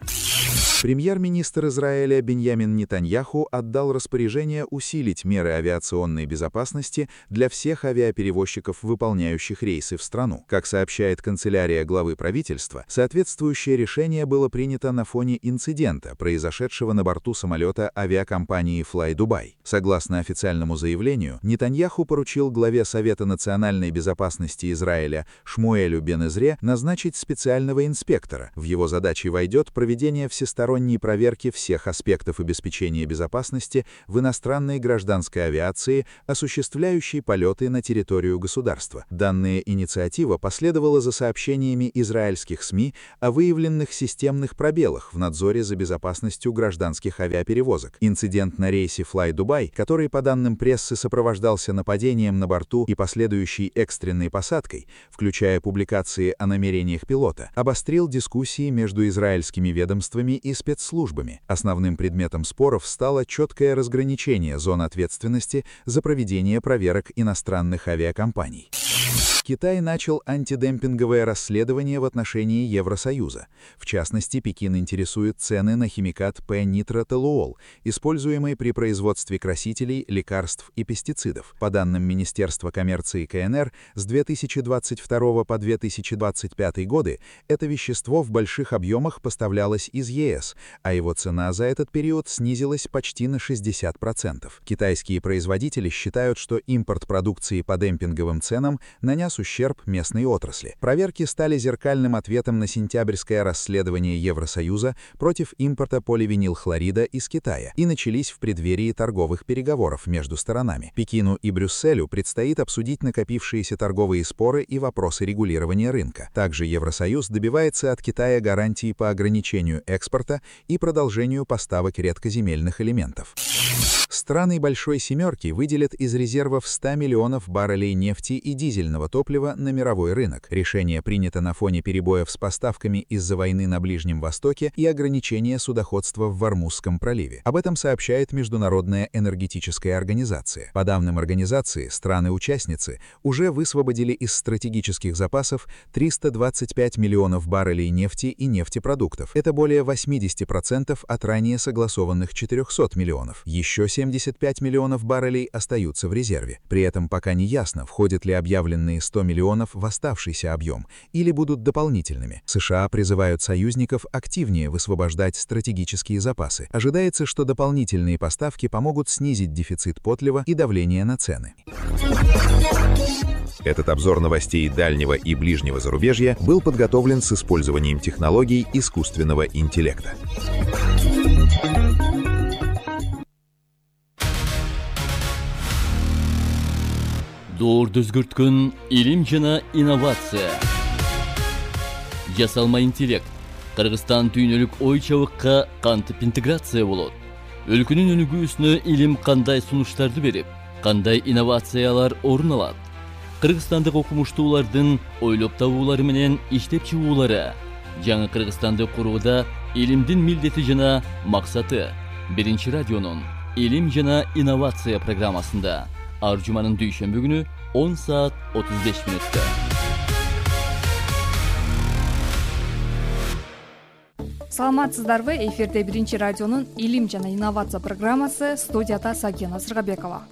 Премьер-министр Израиля Биньямин Нетаньяху отдал распоряжение усилить меры авиационной безопасности для всех авиаперевозчиков, выполняющих рейсы в страну. Как сообщает канцелярия главы правительства, соответствующее решение было принято на фоне инцидента, произошедшего на борту самолета авиакомпании Fly Dubai. Согласно официальному заявлению, Нетаньяху поручил главе Совета национальной безопасности Израиля Шмуэлю Бен-Эзре назначить специального инспектора. В его задачи войдет проведение всесторонней проверки всех аспектов обеспечения безопасности в иностранной гражданской авиации, осуществляющей полеты на территорию государства. Данная инициатива последовала за сообщениями израильских СМИ о выявленных системных пробелах в надзоре за безопасностью гражданских авиаперевозок. Инцидент на рейсе Fly Dubai, который, по данным прессы, сопровождался нападением на борту и последующей экстренной посадкой, включая публикации о намерениях пилота, обострил дискуссии между израильскими ведомствами и спецслужбами. Основным предметом споров стало четкое разграничение зон ответственности за проведение проверок иностранных авиакомпаний. Китай начал антидемпинговое расследование в отношении Евросоюза. В частности, Пекин интересует цены на химикат П-нитротолуол, используемый при производстве красителей, лекарств и пестицидов. По данным Министерства коммерции ка эн эр, с две тысячи двадцать второго по две тысячи двадцать пятый годы это вещество в больших объемах поставлялось из е эс, а его цена за этот период снизилась почти на шестьдесят процентов. Китайские производители считают, что импорт продукции по демпинговым ценам нанес ущерб местной отрасли. Проверки стали зеркальным ответом на сентябрьское расследование Евросоюза против импорта поливинилхлорида из Китая и начались в преддверии торговых переговоров между сторонами. Пекину и Брюсселю предстоит обсудить накопившиеся торговые споры и вопросы регулирования рынка. Также Евросоюз добивается от Китая гарантий по ограничению экспорта и продолжению поставок редкоземельных элементов. Страны Большой Семерки выделят из резервов сто миллионов баррелей нефти и дизельного топлива на мировой рынок. Решение принято на фоне перебоев с поставками из-за войны на Ближнем Востоке и ограничения судоходства в Ормузском проливе. Об этом сообщает Международная энергетическая организация. По данным организации, страны-участницы уже высвободили из стратегических запасов триста двадцать пять миллионов баррелей нефти и нефтепродуктов. Это более восемьдесят процентов от ранее согласованных четырехсот миллионов. Еще семьдесят пять миллионов баррелей остаются в резерве. При этом пока не ясно, входят ли объявленные сто миллионов в оставшийся объем или будут дополнительными. США призывают союзников активнее высвобождать стратегические запасы. Ожидается, что дополнительные поставки помогут снизить дефицит потлива и давление на цены. Этот обзор новостей дальнего и ближнего зарубежья был подготовлен с использованием технологий искусственного интеллекта. Доорду өзгөрткөн илим жана инновация. Жасалма интеллект. Кыргызстан түйнөлүк ой чабыкка кантип интеграция болот? Өлкөнүн өнүгүүсүнө илим кандай сунуштарды берип, кандай инновациялар орун алат? Кыргызстандык окумуштуулардын ойлоп табуулары менен иштеп чыгуулары жаңы Кыргызстанды курууда илимдин милдети жана максаты. Биринчи радионун илим жана инновация программасында ар жуманын дүйшөмбү күнү он саат отуз беш мүнөттө. Саламатсыздарбы? Эфирде Биринчи радионун илим жана инновация программасы, студияда Сагина Сыргабекова.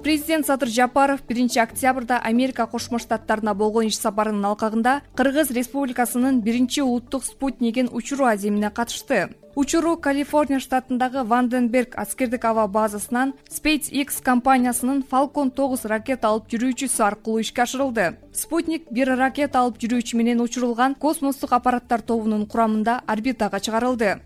Президент Садыр Жапаров биринчи октябрда Америка Кошмо Штаттарына болгон иш сапарынын алкагында Кыргыз Республикасынын биринчи улуттук спутнигин учуруу аземине катышты. Учуруу Калифорния штатындагы Ванденберг аскердик аба базасынан SpaceX компаниясынын Falcon тогуз ракета алып жүрүүчүсү аркылуу ишке ашырылды. Спутник бир ракета алып жүрүүчү менен учурулган космостук аппараттар тобунун курамында орбитага чыгарылды.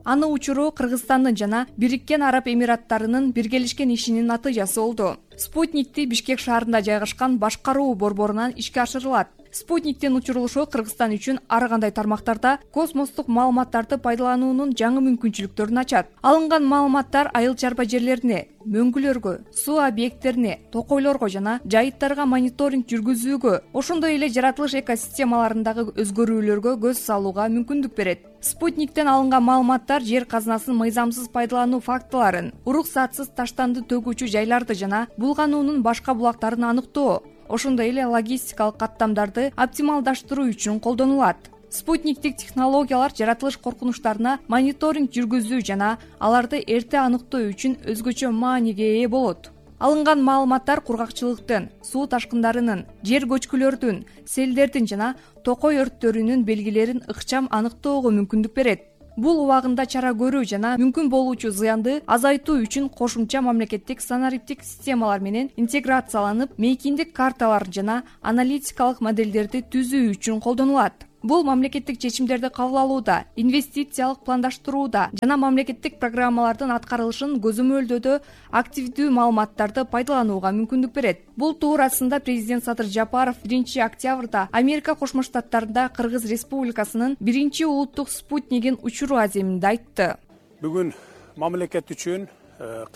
Аны учуруу Кыргызстандын жана Бириккен Араб Эмираттарынын биргелешкен ишинин натыйжасы болду. Спутникти Бишкек шаарында жайгашкан башкаруу борборунан ишке ашырылат. Спутниктин учурулушу Кыргызстан үчүн ар кандай тармактарда космостук маалыматтарды пайдалануунун жаңы мүмкүнчүлүктөрүн ачат. Алынган маалыматтар айыл чарба жерлерине, мөңгүлөргө, суу объекттерине, токойлорго жана жайыттарга мониторинг жүргүзүүгө, ошондой эле жаратылыш экосистемаларындагы өзгөрүүлөргө көз салууга мүмкүндүк берет. Спутниктен алынган маалыматтар жер казынасын мыйзамсыз пайдалануу фактыларын, уруксатсыз таштанды төгүүчү жайларды жана булгануунун башка булактарын аныктоо, ошондой эле логистикалык каттамдарды оптималдаштыруу үчүн колдонулат. Спутниктик технологиялар жаратылыш коркунучтарына мониторинг жүргүзүү жана аларды эрте аныктоо үчүн өзгөчө мааниге ээ болот. Алынган маалыматтар кургакчылыктын, суу ташкындарынын, жер көчкүлөрдүн, селдердин жана токой өрттөрүнүн белгилерин ыкчам аныктоого мүмкүндүк берет. Бул убагында чара көрүү жана мүмкүн болуучу зыянды азайтуу үчүн кошумча мамлекеттик санариптик системалар менен интеграцияланып, мейкиндик карталар жана аналитикалык модельдерди түзүү үчүн колдонулат. Бул мамлекеттик чечимдерди кабыл алууда, инвестициялык пландаштырууда жана мамлекеттик программалардын аткарылышын көзөмөлдөөдө активдүү маалыматтарды пайдаланууга мүмкүндүк берет. Бул туурасында президент Садыр Жапаров биринчи октябрда Америка Кошмо Штаттарында Кыргыз Республикасынын биринчи улуттук спутнигин учуруу аземинде айтты. Бүгүн мамлекет үчүн,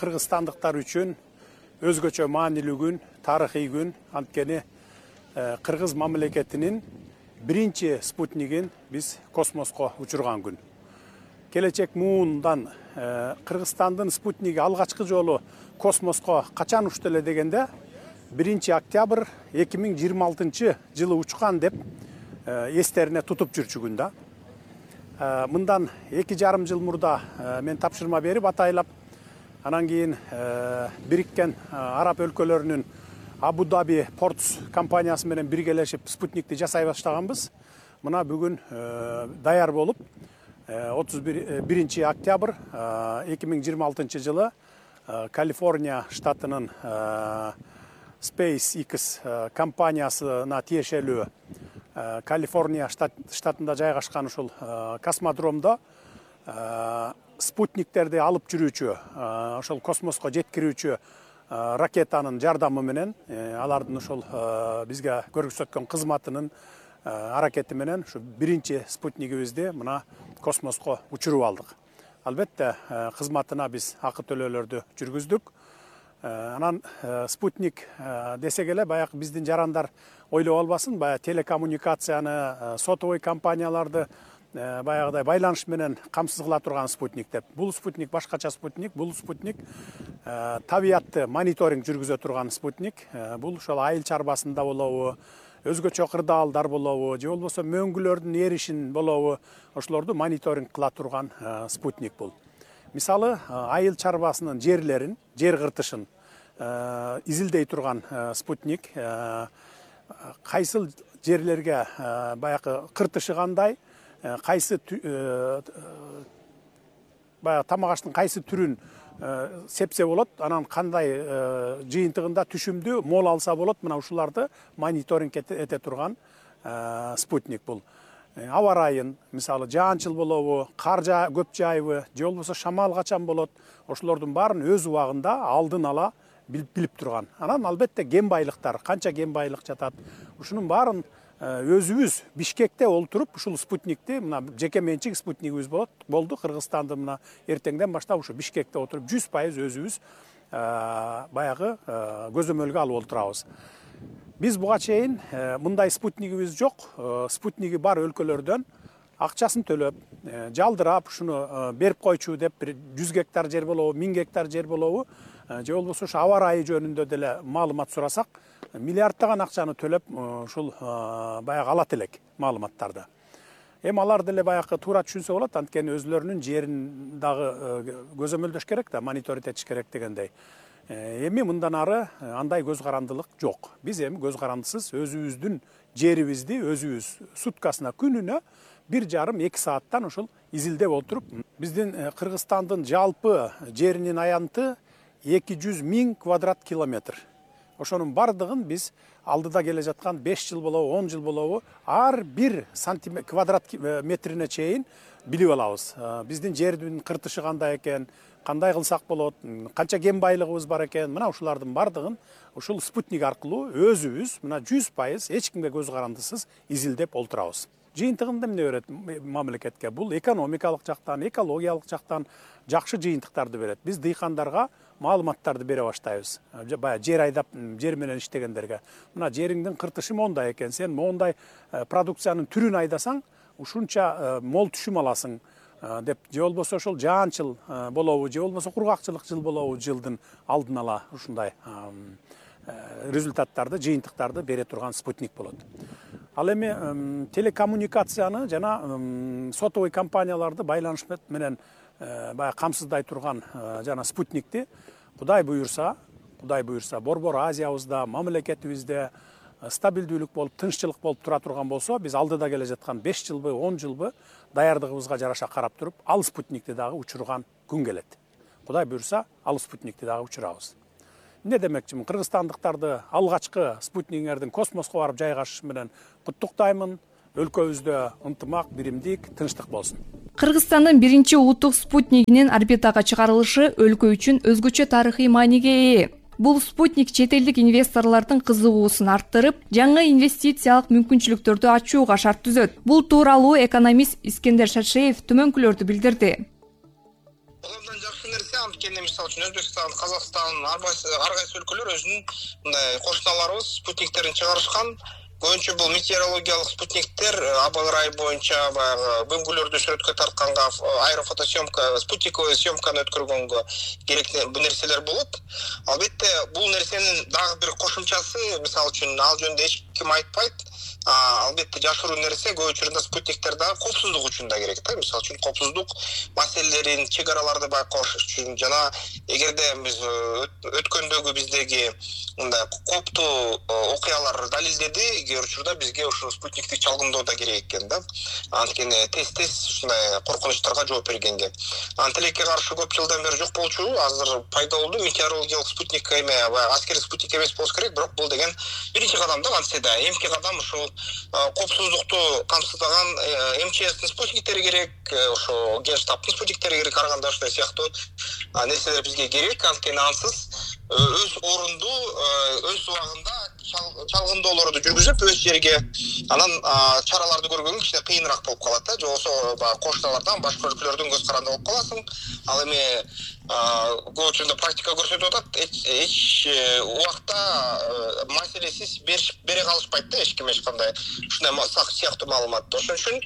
кыргызстандыктар үчүн өзгөчө маанилүү күн, тарыхый күн. Анткени Кыргыз мамлекетинин биринчи спутнигин биз космоско учурган күн. Келечек муундан Кыргызстандын спутниги алгачкы жолу космоско качан учту эле дегенде биринчи октябрь эки миң жыйырма алтынчы жылы учкан деп эстерине тутуп жүрчү күн да. Мындан эки жарым жыл мурда мен тапшырма берип атайлап, анан кийин Бириккен Араб өлкөлөрүнүн Абу Даби Портс компаниясы менен биргелешип спутникти жасай баштаганбыз. Мына бүгүн даяр болуп отуз биринчи октябрь эки миң жыйырма алтынчы жылы Калифорния штатынын SpaceX компаниясына тиешелүү Калифорния штатында жайгашкан ушул космодромдо спутниктерди алып жүрүүчү, ошол космоско жеткирүүчү ракетанын жардамы менен, алардын ошол бизге көрсөткөн кызматынын аракети менен ушу биринчи спутнигибизди мына космоско учуруп алдык. Албетте кызматына биз акы төлөөлөрдү жүргүздүк. Анан спутник десек эле баягы биздин жарандар ойлоп албасын, баягы телекоммуникацияны, сотовый компанияларды баягыдай байланыш менен камсыз кыла турган спутник деп. Бул спутник башкача спутник, бул спутник табиятты мониторинг жүргүзө турган спутник. Бул ошол айыл чарбасында болобу, өзгөчө кырдаалдар болобу, же болбосо мөңгүлөрдүн эришин болобу, ошолорду мониторинг кыла турган спутник бул. Мисалы, айыл чарбасынын жерлерин, жер кыртышын изилдей турган спутник. Кайсыл жерлерге баягы кыртышы кандай, кайсы баягы тамак аштын кайсы түрүн сепсе болот, анан кандай жыйынтыгында түшүмдүү мол алса болот, мына ушуларды мониторинг эте турган спутник бул. Аба ырайын, мисалы жаанчыл болобу, кар көп жайбы, же болбосо шамал качан болот, ошолордун баарын өз убагында алдын ала билип турган. Анан албетте ген байлыктар, канча ген байлык жатат, ушунун баарын өзүбүз Бишкекте олтуруп ушул спутникти, мына жеке менчик спутнигибиз болот болду Кыргызстанды мына эртеңден баштап ушу Бишкекте отуруп жүз пайыз өзүбүз баягы көзөмөлгө алып олтурабыз. Биз буга чейин мындай спутнигибиз жок. Спутниги бар өлкөлөрдөн акчасын төлөп, жалдырап, ушуну берип койчу деп, бир жүз гектар жер болобу, миң гектар жер болобу, же болбосо ушу аба ырайы жөнүндө деле маалымат сурасак, миллиарддаган акчаны төлөп, ушул баягы алат элек маалыматтарды. Эми алар деле баягы туура түшүнсө болот, анткени өзүлөрүнүн жерин дагы көзөмөлдөш керек да, мониторинг этиш керек дегендей. Эми мындан ары андай көз карандылык жок. Биз эми көз карандысыз өзүбүздүн жерибизди өзүбүз суткасына, күнүнө бир жарым эки сааттан ушул изилдеп отуруп, биздин Кыргызстандын жалпы жеринин аянты эки жүз миң квадрат километр. Ошонун бардыгын биз алдыда келе жаткан беш жыл болобу, он жыл болобу, ар бир сантиметр квадрат метрине чейин билип алабыз. Биздин жердин кыртышы кандай экен, кандай кылсак болот, канча кен байлыгыбыз бар экен, мына ушулардын бардыгын ушул спутник аркылуу өзүбүз мына жүз пайыз эч кимге көз карандысыз изилдеп олтурабыз. Жыйынтыгында эмне берет мамлекетке? Бул экономикалык жактан, экологиялык жактан жакшы жыйынтыктарды берет. Биз дыйкандарга маалыматтарды бере баштайбыз. Баягы жер айдап, жер менен иштегендерге. Мына жериңдин кыртышы мондай экен, сен мондай продукциянын түрүн айдасаң, ушунча мол түшүм аласың деп, же болбосо ошол жаанчыл болобу, же болбосо кургакчылык жыл болобу, жылдын алдын ала ушундай результаттарды, жыйынтыктарды бере турган спутник болот. Ал эми телекоммуникацияны жана сотовый компанияларды байланыш менен баягы камсыздай турган жана спутникти Кудай буйрса, Кудай буйрса Борбор Азиябызда, мамлекетибизде стабилдүүлүк болуп, тынччылык болуп тура турган болсо, биз алдыда келе жаткан беш жылбы, он жылбы даярдыгыбызга жараша карап туруп, ал спутникти дагы учурган күн келет. Кудай буйрса, ал спутникти дагы учурабыз. Не демекчимин, кыргызстандыктарды алгачкы спутниктердин космоско барып жайгашышы менен куттуктаймын. Өлкөбүздө ынтымак, биримдик, тынчтык болсун. Кыргызстандын биринчи улуттук спутнигинин орбитага чыгарылышы өлкө үчүн өзгөчө тарыхый мааниге ээ. Бул спутник чет элдик инвесторлордун кызыгуусун арттырып, жаңы инвестициялык мүмкүнчүлүктөрдү ачууга шарт түзөт. Бул тууралуу экономист Искендер Шаршеев түмөнкүлөрдү билдирди. Колдон жакшы нерсе, анткени мисалы үчүн Өзбекстан, Казакстан, ар кайсы өлкөлөр өзүнүн мындай кошуналарыбыз спутниктерин чыгарышкан. Көбүнчө бул метеорологиялык спутниктер аба ырайы боюнча баягы бөңгүлөрдү сүрөткө тартканга, аэрофотосъемка, спутниковый съемканы өткөргөнгө керектүү бул нерселер болот. Албетте, бул нерсенин дагы бир кошумчасы, мисалы үчүн ал жөнүндө эч ким айтпайт. Албетте жашыруу нерсе көп учурда спутниктер дагы коопсуздук үчүн да керек да. Мисалы үчүн коопсуздук маселелерин, чек араларды байкош үчүн жана эгерде биз өткөндөгү биздеги мындай кооптуу окуялар далилдеди, кээ учурда бизге ушул спутниктик чалгындоо да керек экен да. Анткени тез-тез ушундай коркунучтарга жооп бергенге. Антилекке каршы көп жылдан бери жок болчу, азыр пайда болду. Метеорологиялык спутник эме, аскердик спутник эмес болуш керек, бирок бул деген биринчи кадам да антсе да. Эмки кадам ушул коопсуздукту камсыздаган эм че эстин спутниктери керек, ошо Генштабтын спутниктери керек, ар кандай ушундай сыяктуу нерселер бизге керек. Анткени ансыз өз орунду, өз убагында чалгындоолорду жүргүзүп, өз жерге анан чараларды көргөнгө кичине кыйыныраак болуп калат да. Же болбосо баягы кошуналардан, башка өлкөлөрдөн көз каранды болуп каласың. Ал эми көп учурда практика көрсөтүп атат, эч убакта маселесиз бере калышпайт да эч ким эч кандай ушундай сыяктуу маалыматты. Ошон үчүн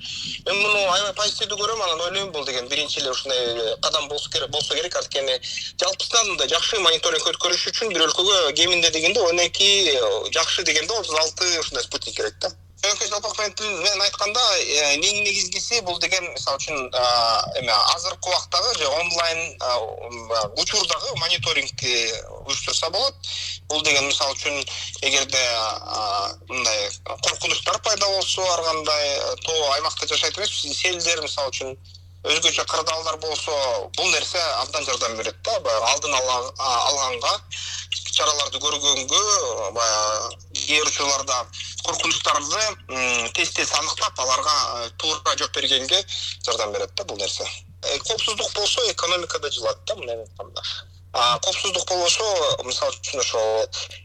мен муну аябай позитивдүү көрөм, анан ойлойм бул деген биринчи эле ушундай кадам болсо керек, болсо керек. Анткени жалпысынан мындай жакшы мониторинг өткөрүш үчүн бир өлкөгө кеминде дегенде он эки, жакшы дегенде отуз алты ушундай спутник керек да. Чөнөкөй жалпак менен айтканда, эң негизгиси бул деген мисалы үчүн эме азыркы убактагы же онлайн учурдагы мониторингти уюштурса болот. Бул деген мисалы үчүн эгерде мындай коркунучтар пайда болсо, ар кандай тоо аймакта жашайт эмес, селдер мисалы үчүн өзгөчө кырдаалдар болсо, бул нерсе абдан жардам берет да. Алдын алганга, чараларды көргөнгө, баягы кээ учурларда коркунучтарды тез-тез аныктап, аларга туура жооп бергенге жардам берет да бул нерсе. Коопсуздук болсо экономика да жылат да, мындай айтканда. коопсуздук болбосо, мисалы үчүн ошо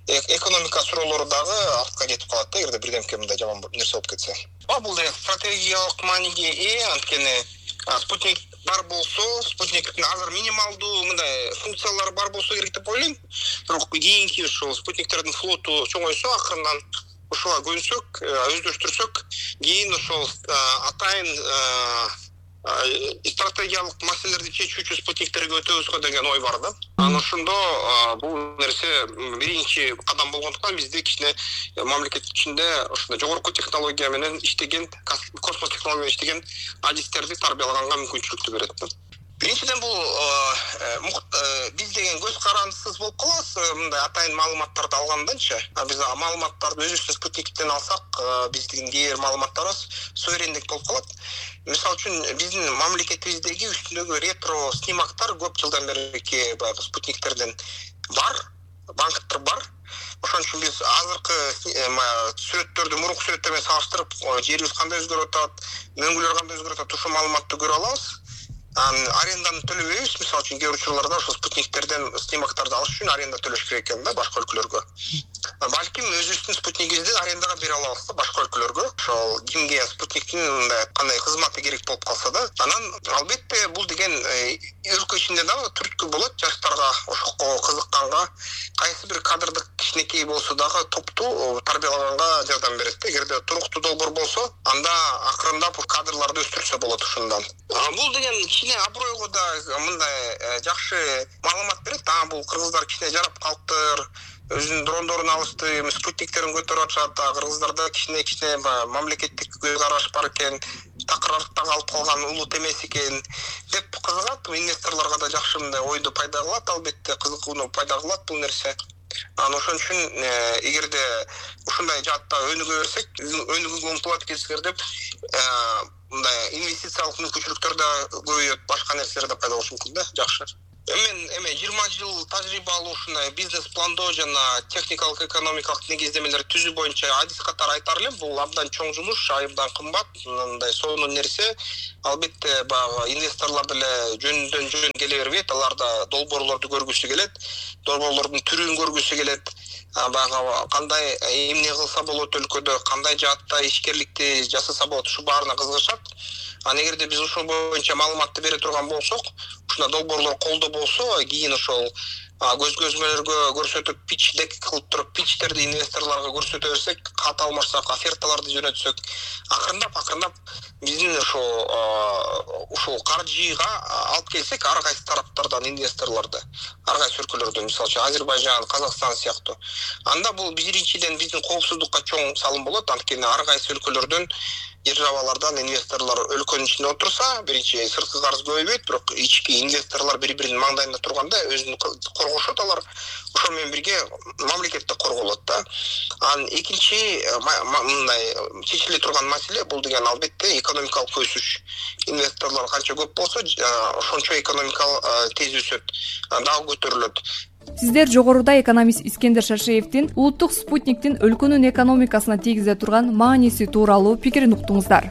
экономика суроолору дагы артка кетип калат да, эгерде бирдемке мындай жаман нерсе болуп кетсе. Бул деген стратегиялык мааниге ээ, анткени спутник бар болсо, спутниктин азыр минималдуу мындай функциялары бар болсо керек деп ойлойм. Бирок кийинки ошо спутниктердин флоту чоңойсо, акырынан ушуга көнсөк, өздөштүрсөк, кийин ошол атайын стратегиялык маселелерди чечүүчү спутниктерге өтөбүзгө деген ой бар да. Анан ошондо бул нерсе биринчи кадам болгондуктан бизде кичине мамлекет ичинде ошондой жогорку технология менен иштеген, космос технология менен иштеген адистерди тарбиялаганга мүмкүнчүлүктү берет да. Биринчиден бул биз деген көз карандысыз болуп калабыз, мындай атайын маалыматтарды алганданчы. Биз маалыматтарды өзүбүздүн спутниктен алсак, биздин кээ бир маалыматтарыбыз суверендик болуп калат. Мисалы үчүн биздин мамлекетибиздеги үстүндөгү ретро снимактар көп жылдан берки баягы спутниктерден бар, банктар бар. Ошон үчүн биз азыркы сүрөттөрдү мурунку сүрөттөр менен салыштырып, жерибиз кандай өзгөрүп атат, мөңгүлөр кандай өзгөрүп атат, ушул маалыматты көрө алабыз. Аренданы төлөбөйбүз, мисалы үчүн кээ бир учурларда ошо спутниктерден снимактарды алыш үчүн аренда төлөш керек экен да башка өлкөлөргө. Балким өзүбүздүн спутнигибизди арендага бере алабыз да башка өлкөлөргө. Ошол кимге спутниктин мындай кандай кызматы керек болуп калса да. Анан албетте бул деген өлкө ичинде дагы түрткү болот жаштарга, ошого кызыкканга, кайсы бир кадрдык кичинекей болсо дагы топту тарбиялаганга жардам берет да. Эгерде туруктуу долбоор болсо, анда акырындап кадрларды өстүрсө болот ошондон. Бул деген кичине абройго да мындай жакшы маалымат берет. А бул кыргыздар кичине жарап калыптыр, өзүнүн дрондорун алышты, спутниктерин көтөрүп атышат, кыргыздарда кичине-кичине мамлекеттик көз караш бар экен, такыр артта калып калган улут эмес экен деп кызыгат. Инвесторлорго да жакшы мындай ойду пайда кылат, албетте кызыкууну пайда кылат бул нерсе. Анан ошон үчүн эгерде ушундай жаатта өнүгө берсек, өнүгүүгө умтулат экенсиздер деп мындай инвестициялык мүмкүнчүлүктөр да көбөйөт, башка нерселер да пайда болушу мүмкүн да, жакшы. Мен эме жыйырма жыл тажрыйба алуу ушундай бизнес пландоо жана техникалык экономикалык негиздемелер түзүү боюнча адис катары айтар элем. Бул абдан чоң жумуш, айымдан кымбат, мындай сонун нерсе. Албетте баягы инвесторлор деле жөндөн жөн келе бербейт, алар да долбоорлорду көргүсү келет, долбоорлордун түрүн көргүсү келет. Баягы кандай эмне кылса болот өлкөдө, кандай жаатта ишкерликти жасаса болот, ушу баарына кызыгышат. Анан эгерде биз ошол боюнча маалыматты бере турган болсок, ушундай долбоорлор колдо болсо, кийин ошол көзгөзмөлөргө көрсөтүп, пич дек кылып туруп, пичтерди инвесторлорго көрсөтө берсек, кат алмашсак, оферталарды жөнөтсөк, акырындап акырындап биздин ошо ушул каржыга алып келсек, ар кайсы тараптардан инвесторлорду, ар кайсы өлкөлөрдөн, мисалы үчүн Азербайжан, Казакстан сыяктуу. Анда бул биринчиден биздин коопсуздукка чоң салым болот, анткени ар кайсы өлкөлөрдөн державалардан инвесторлор өлкөнүн ичинде отурса, биринчи сырткы карыз көбөйбөйт, бирок ички инвесторлор бири-биринин маңдайында турганда өзүн коргошот алар. Ошол менен бирге мамлекет да корголот да. Анан экинчи мындай чечиле турган маселе бул деген албетте экономикалык өсүш. Инвесторлор канча көп болсо, ошончо экономикалык тез өсөт, дагы көтөрүлөт. Сиздер жогоруда экономист Искендер Шашиевдин улуттук спутниктин өлкөнүн экономикасына тийгизе турган мааниси тууралуу пикирин уктуңуздар.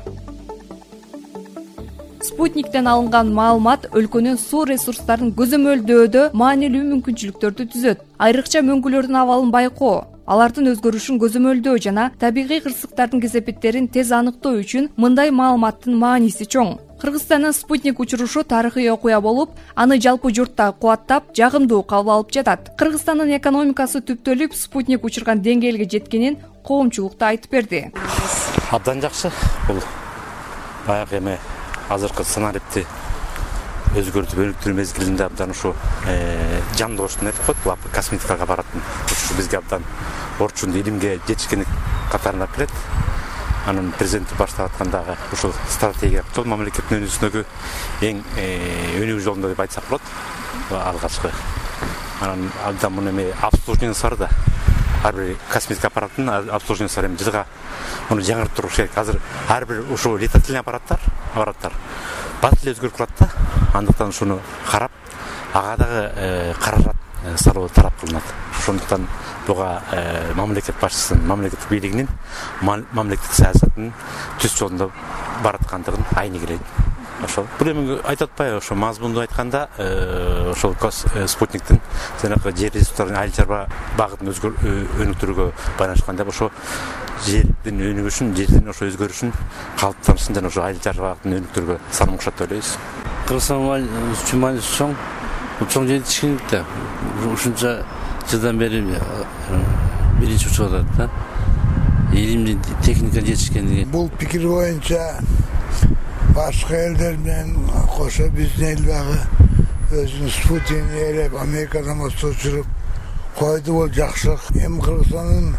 Спутниктен алынган маалымат өлкөнүн суу ресурстарын көзөмөлдөөдө маанилүү мүмкүнчүлүктөрдү түзөт. Айрыкча мөңгүлөрдүн абалын байкоо, алардын өзгөрүшүн көзөмөлдөө жана табигый кырсыктардын кесепеттерин тез аныктоо үчүн мындай маалыматтын мааниси чоң. Кыргызстандын спутник учурушу тарыхый окуя болуп, аны жалпы журтта кубаттап, жагымдуу кабыл алып жатат. Кыргызстандын экономикасы түптөлүп, спутник учурган деңгээлге жеткенин коомчулук да айтып берди. Абдан жакшы. Бул баягы эме азыркы сценарийди өзгөртүп өнүктүрүү мезгилинде абдан ушу жандооштун айтып коет, бул косметикага баратын. Ушу бизге абдан орчун илимге жетишкендик катарына кирет. Анын президенти баштап аткандагы ушул стратегия жол мамлекеттин өнүгүүсүндөгү эң өнүгүү жолунда деп айтсак болот. Алгачкы. Анан абдан муну эме обслуживаниясы бар да. Ар бир косметика аппараттын обслуживаниясы бар, эми жылга муну жаңыртып туруш керек. Азыр ар бир ушул летательный аппараттар, аппараттар бат эле өзгөрүп калат да. Андыктан ушуну карап, ага дагы каражат салуу талап кылынат. Ошондуктан буга мамлекет башчысынын, мамлекеттик бийлигинин мамлекеттик саясатынын түз жолунда бараткандыгын айны келет. ошол бул эми айтып атпайбы, ошо мазмунду айтканда ошол спутниктин жанагы жер ресурстарын айыл чарба багытын өнүктүрүүгө байланышкан деп ошо жердин өнүгүшүн, жердин ошо өзгөрүшүн калыптанышын жана ошо айыл чарба багытын өнүктүрүүгө салымкошот деп ойлойбуз. Кыргызстан үчүн мааниси чоң, чоң жетишкендик да. Ушунча жылдан бери биринчи учуп атат да. Илимдин техника жетишкендиги. Бул пикир боюнча башка элдер менен кошо биздин эл дагы өзүнүн спутнигин ээлеп Америкадан болсо учуруп койду, бул жакшылык. Эми Кыргызстандын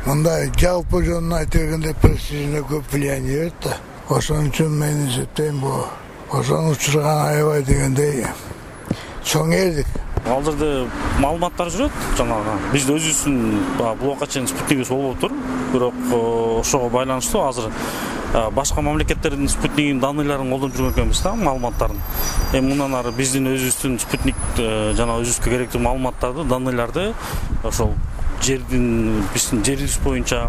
мындай жалпы жөнүн айта бергенде престижине көп влияние берет да. Ошон үчүн мен эсептейм, бул ошону учурган аябай дегендей чоң элдик. Ал жерде маалыматтар жүрөт, жанагы биз өзүбүздүн бул убакка чейин спутнигибиз болбоптур, бирок ошого байланыштуу азыр башка мамлекеттердин спутнигинин данныйларын колдонуп жүргөн экенбиз да, маалыматтарын. Эми мындан ары биздин өзүбүздүн спутник жана өзүбүзгө керектүү маалыматтарды, данныйларды ошол жердин биздин жер жүзү боюнча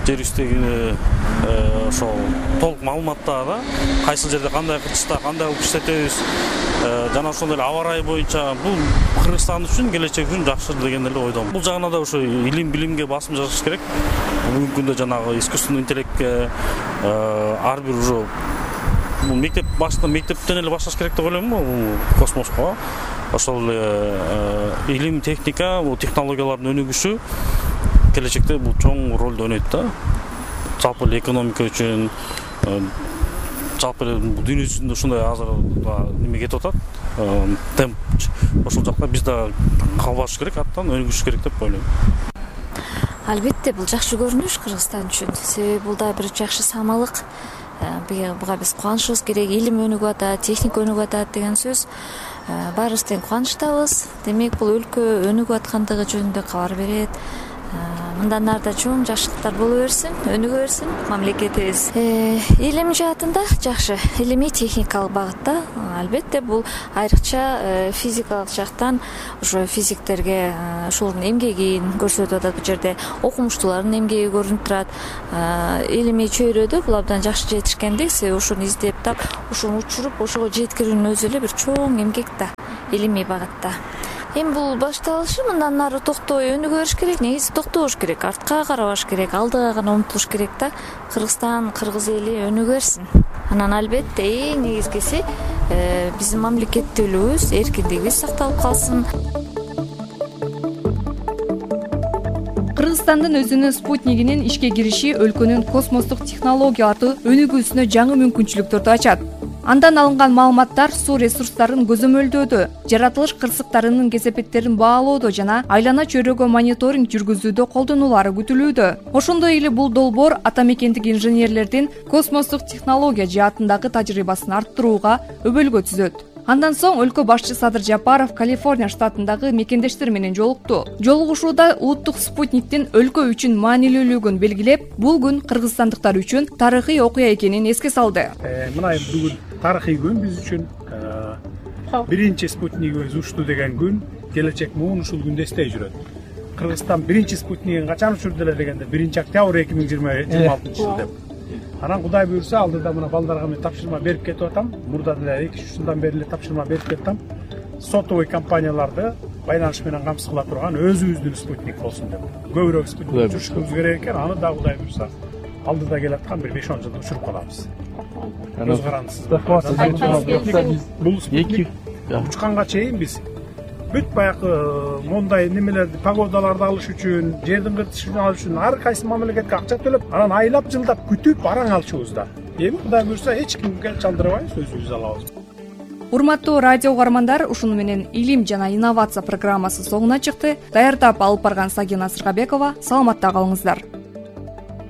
жер үстүндөгү ошол толук маалыматтарды, кайсы жерде кандай кырчышта кандай кылып иштетебиз жана ошондой эле аба ырайы боюнча бул Кыргызстан үчүн келечек үчүн жакшы деген эле ойдомун. Бул жагына да ошо илим билимге басым жасаш керек. Бүгүнкү күндө жанагы искусственный интеллектке ар бир уже бул мектеп башында мектептен эле башташ керек деп ойлойм бул космоско. Ошол илим, техника, бул технологиялардын өнүгүшү келечекте бул чоң ролду ойнойт да. Жалпы эле экономика үчүн, жалпы эле дүйнө жүзүндө ушундай азыр неме кетип атат, темп. Ошол жакта биз да калбаш керек, аттан өнүгүш керек деп ойлойм. Албетте, бул жакшы көрүнүш Кыргызстан үчүн. Себеби бул да бир жакшы самалык. Буга биз кубанышыбыз керек. Илим өнүгүп атат, техника өнүгүп атат деген сөз. Баарыбыз тең кубанычтабыз. Демек, бул өлкө өнүгүп аткандыгы жөнүндө кабар берет. Мындан ары да чоң жакшылыктар боло берсин, өнүгө берсин мамлекетибиз. Илим жаатында жакшы, илимий техникалык багытта албетте бул айрыкча физикалык жактан ошо физиктерге ошолордун эмгегин көрсөтүп атат. Бул жерде окумуштуулардын эмгеги көрүнүп турат. Илимий чөйрөдө бул абдан жакшы жетишкендик, себеби ошону издеп тап, ошону учуруп, ошого жеткирүүнүн өзү эле бир чоң эмгек да, илимий багытта. Эми бул башталышы, мындан ары токтой өнүгө бериш керек, негизи токтобош керек, артка карабаш керек, алдыга гана умтулуш керек да. Кыргызстан, кыргыз эли өнүгө берсин. Анан албетте эң негизгиси биздин мамлекеттүүлүгүбүз, эркиндигибиз сакталып калсын. Кыргызстандын өзүнүн спутнигинин ишке кириши өлкөнүн космостук технологияларды өнүгүүсүнө жаңы мүмкүнчүлүктөрдү ачат. Андан алынган маалыматтар суу ресурстарын көзөмөлдөөдө, жаратылыш кырсыктарынын кесепеттерин баалоодо жана айлана чөйрөгө мониторинг жүргүзүүдө колдонулары күтүлүүдө. Ошондой эле бул долбоор ата мекендик инженерлердин космостук технология жаатындагы тажрыйбасын арттырууга өбөлгө түзөт. Андан соң өлкө башчы Садыр Жапаров Калифорния штатындагы мекендештер менен жолукту. Жолугушууда улуттук спутниктин өлкө үчүн маанилүүлүгүн белгилеп, бул күн кыргызстандыктар үчүн тарыхый окуя экенин эске салды. Мына бүгүн тарыхый күн биз үчүн. Биринчи спутнигибиз учту деген күн келечек муун ушул күндө эстей жүрөт. Кыргызстан биринчи спутнигин качан учурду эле дегенде биринчи октябрь эки миң жыйырма алтынчы жыл деп. Анан Кудай буйрса алдыда мына балдарга мен тапшырма берип кетип атам. Мурда деле эки үч жылдан бери эле тапшырма берип кеттим. Сотовый компанияларды байланыш менен камсыз кыла турган өзүбүздүн спутник болсун деп. Көбүрөөк спутник учурушубуз керек экен. Аны да Кудай буйрса алдыда келаткан бир беш он жылда учуруп калабыз. Көз карандысыз. Бул спутник учканга чейин биз бүт баягы мондай немелерди, погодаларды алыш үчүн, жердин кыртышын алыш үчүн ар кайсы мамлекетке акча төлөп, анан айлап жылдап күтүп араң алчубузда. Эми Кудай буйрса эч кимге чалдырбайбыз, өзүбүз алабыз. Урматтуу радио угармандар, ушуну менен илим жана инновация программасы соңуна чыкты. Даярдап алып барган Сагина Сыргабекова. Саламатта калыңыздар.